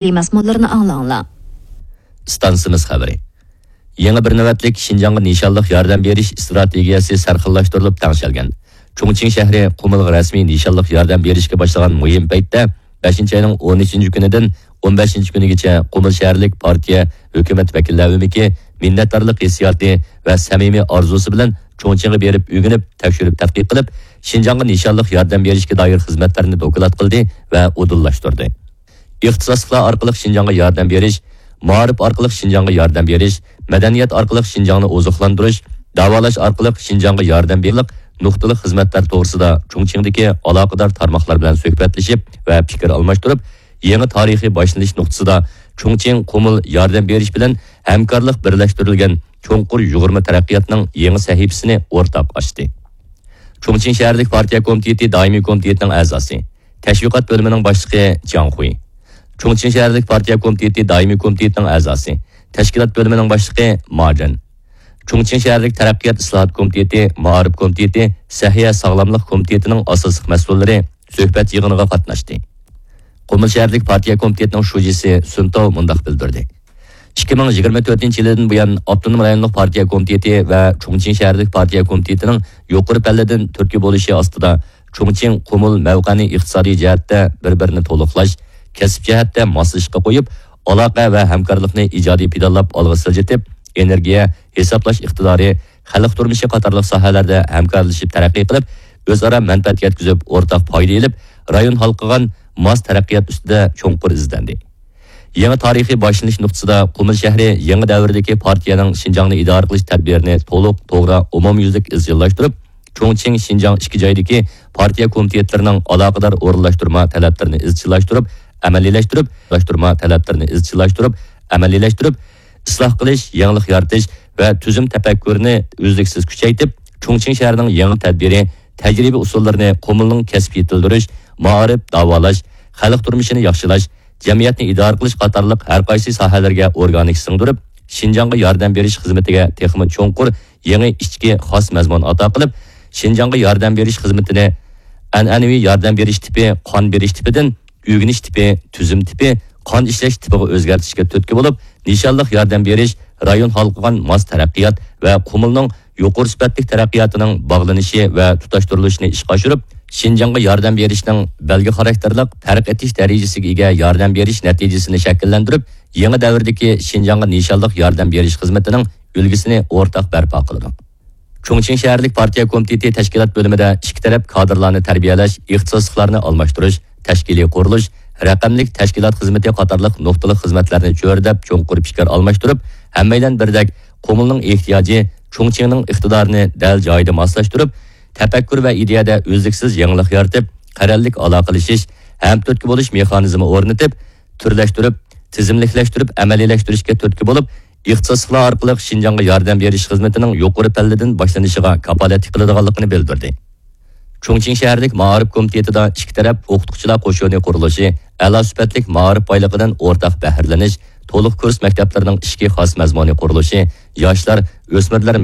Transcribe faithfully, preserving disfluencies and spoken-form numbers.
مەزمۇنلىرىنى ئاڭلاڭلار. ئىستانسىمىز خەۋىرى. يېڭى بىر نۆۋەتلىك شىنجاڭغا نىشانلىق ياردەم بېرىش ئىستراتېگىيەسى سەرخىللاشتۇرۇلۇپ تەڭشەلگەن. چۇڭچىڭ شەھىرى قۇمۇلغا رەسمىي نىشانلىق ياردەم بېرىشكە باشلىغان مۇھىم پەيتتە، بەشىنچى ئاينىڭ ئون ئۈچىنچى كۈنىدىن ئون بەشىنچى كۈنىگىچە قۇمۇل شەھەرلىك پارتىيە، ھۆكۈمەت ۋەكىللەر ئۆمىكى مىننەتدارلىق ھېسسىياتى ۋە سەمىمىي ئارزۇسى بىلەن چۇڭچىڭغا بېرىپ ئۆگىنىپ، تەكشۈرۈپ تەتقىق قىلىپ، شىنجاڭغا نىشانلىق ياردەم بېرىشكە دائىر خىزمەتلەرنى دوكلات قىلدى ۋە ئۇدۇللاشتۇردى. ئىختىساسلىقلار ئارقىلىق شىنجاڭغا ياردەم بېرىش، مائارىپ ئارقىلىق شىنجاڭغا ياردەم بېرىش، مەدەنىيەت ئارقىلىق شىنجاڭنى ئوزۇقلاندۇرۇش، داۋالاش ئارقىلىق شىنجاڭغا ياردەم بېرىش نۇقتىلىق خىزمەتلەر توغرىسىدا چۇڭچىڭدىكى ئالاقىدار تارماقلار بىلەن سۆھبەتلىشىپ ۋە پىكىر ئالماشتۇرۇپ، يېڭى تارىخىي باشلىنىش نۇقتىسىدا چۇڭچىڭ قۇمۇل ياردەم بېرىش بىلەن ھەمكارلىق بىرلەشتۈرۈلگەن چوڭقۇر يۇغۇرما تەرەققىياتنىڭ يېڭى سەھىپىسىنى ئورتاق ئاچتى. چۇڭچىڭ شەھەرلىك پارتىيە كومىتېتى دائىمىي كومىتېتىنىڭ ئەزاسى، تەشۋىقات بۆلۈمىنىڭ باشلىقى جياڭ خۇي. چۇڭچىڭ شەھەرلىك پارتىيە كومىتېتى دائىمىي كومىتېتىنىڭ ئەزاسى، تەشكىلات بۆلۈمىنىڭ باشلىقى ما جېن. چۇڭچىڭ شەھەرلىك تەرەققىيات ئىسلاھات كومىتېتى، مائارىپ كومىتېتى، سەھىيە ساغلاملىق كومىتېتىنىڭ ئاساسلىق مەسئۇللىرى سۆھبەت يىغىنىغا قاتناشتى. قۇمۇل شەھەرلىك پارتىيە كومىتېتىنىڭ شۇجىسى سۈن تاۋ مۇنداق بىلدۈردى. ئىككى مىڭ يىگىرمە تۆتىنچى يىلىدىن بۇيان ئاپتونوم رايونلۇق پارتىيە كومىتېتى ۋە چۇڭچىڭ شەھەرلىك پارتىيە كومىتېتىنىڭ يۇقىرى پەللىدىن تۈرتكە بولۇشى ئاستىدا، چۇڭچىڭ قۇمۇل مەۋقەنى ئىقتىسادىي جەھەتتە بىر-بىرىنى تولۇقلاش، كەسىپ جەھەتتە ماسلىشىشقا قويۇپ، ئالاقە ۋە ھەمكارلىقنى ئىجادىي پىلانلاپ ئالغا سىلجىتىپ، ئېنېرگىيە، ھېسابلاش ئىقتىدارى، خەلق تۇرمۇشى قاتارلىق ساھەلەردە ھەمكارلىشىپ تەرەققىي قىلىپ، ئۆزئارا مەنپەئەت يەتكۈزۈپ، ئورتاق پايدا ئېلىپ، رايون ھالقىغان ماس تەرەققىيات ئۈستىدە چوڭقۇر ئىزدەندى. يېڭى تارىخىي باشلىنىش نۇقتىسىدا قۇمۇل شەھىرى يېڭى دەۋردىكى پارتىيەنىڭ شىنجاڭنى ئىدارە قىلىش تەدبىرىنى تولۇق، توغرا، ئومۇميۈزلۈك ئىزچىللاشتۇرۇپ، چۇڭچىڭ شىنجاڭ ئىككى جايدىكى پارتىيە كومىتېتلىرىنىڭ ئالاقىدار ئورۇنلاشتۇرما تەلەپلىرىنى ئىزچىللاشتۇرۇپ، ئەمەلىيلەشتۈرۈپ، لاشتۇرما تەلەپلىرىنى ئىزچىللاشتۇرۇپ، ئەمەلىيلەشتۈرۈپ، ئىسلاھ قىلىش، يېڭىلىق يارىتىش ۋە تۈزۈم تەپەككۇرىنى ئۈزلۈكسىز كۈچەيتىپ، چۇڭچىڭ شەھىرىنىڭ يېڭى تەدبىرىي، تەجرىبە ئۇسۇللىرىنى قۇمۇلنىڭ كەسىپ يېتىلدۈرۈش، مائارىپ، داۋالاش، خەلق تۇرمۇشىنى ياخشىلاش، جەمئىيەتنى ئىدارە قىلىش قاتارلىق ھەر قايسى ساھەلەرگە ئورگانىك سىڭدۈرۈپ، شىنجاڭغا ياردەم بېرىش خىزمىتىگە تېخىمۇ چوڭقۇر يېڭى ئىچكى خاس مەزمۇن ئاتا قىلىپ، شىنجاڭغا ياردەم بېرىش خىزمىتىنى ئەنئەنىۋى ياردەم بېرىش تىپى، قان بېرىش تىپىدىن ئۆگىنىش تىپى، تۈزۈم تىپى، قان ئىشلەش تىپىغا ئۆزگەرتىشكە تۈرتكە بولۇپ، نىشانلىق ياردەم بېرىش، رايون ھالقىغان ماس تەرەققىيات ۋە قۇمۇلنىڭ يۇقىرى سۈپەتلىك تەرەققىياتىنىڭ باغلىنىشى ۋە تۇتاشتۇرۇلۇشىنى ئىشقا ئاشۇرۇپ، شىنجاڭغا ياردەم بېرىشنىڭ بەلگە خاراكتېرلىق پەرق ئېتىش دەرىجىسىگە ئىگە ياردەم بېرىش نەتىجىسىنى شەكىللەندۈرۈپ، يېڭى دەۋردىكى شىنجاڭغا نىشانلىق ياردەم بېرىش خىزمىتىنىڭ ئۈلگىسىنى ئورتاق بەرپا قىلىدۇ. چۇڭچىڭ شەھەرلىك پارتىيە كومىتېتى تەشكىلات بۆلۈمىدە ئىككى تەرەپ كادىرلارنى تەربىيەلەش، ئىختىساسلىقلارنى ئالماشتۇرۇش، تەشكىلىي قۇرۇلۇش، رەقەملىك تەشكىلات خىزمىتى قاتارلىق نۇقتىلىق خىزمەتلەرنى چۆرىدەپ، چوڭقۇر پىكىر ئالماشتۇرۇپ، ھەممەيلەن بىردەك قۇمۇلنىڭ ئېھتىياجى، چۇڭچىڭنىڭ ئىقتىدارىنى دەل جايىدا ماسلاشتۇرۇپ، تەپەككۇر ۋە ئىدىيەدە ئۈزلۈكسىز يېڭىلىق يارىتىپ، قەرەللىك ئالاقىلىشىش، ھەم تۈرتكە بولۇش مېخانىزمى ئورنىتىپ، تۈرلەشتۈرۈپ، تىزىملىكلەشتۈرۈپ ئەمەلىيلەشتۈرۈشكە تۈرتكە بولۇپ، ئىختىساسلىقلار ئارقىلىق شىنجاڭغا ياردەم بېرىش خىزمىتىنىڭ يۇقىرى پەللىدىن باشلىنىشىغا كاپالەتلىك قىلىدىغانلىقىنى بىلدۈردى. چۇڭچىڭ شەھەرلىك مائارىپ كومىتېتىدا ئىككى تەرەپ ئوقۇتقۇچىلار قوشۇنى قۇرۇلۇشى، ئەلا سۈپەتلىك مائارىپ بايلىقىدىن ئورتاق بەھرىلىنىش، تولۇق كۇرس مەكتەپلىرىنىڭ ئىچكى خاس مەزمۇنى قۇرۇلۇشى، ياشلار، ئۆسمۈرلەر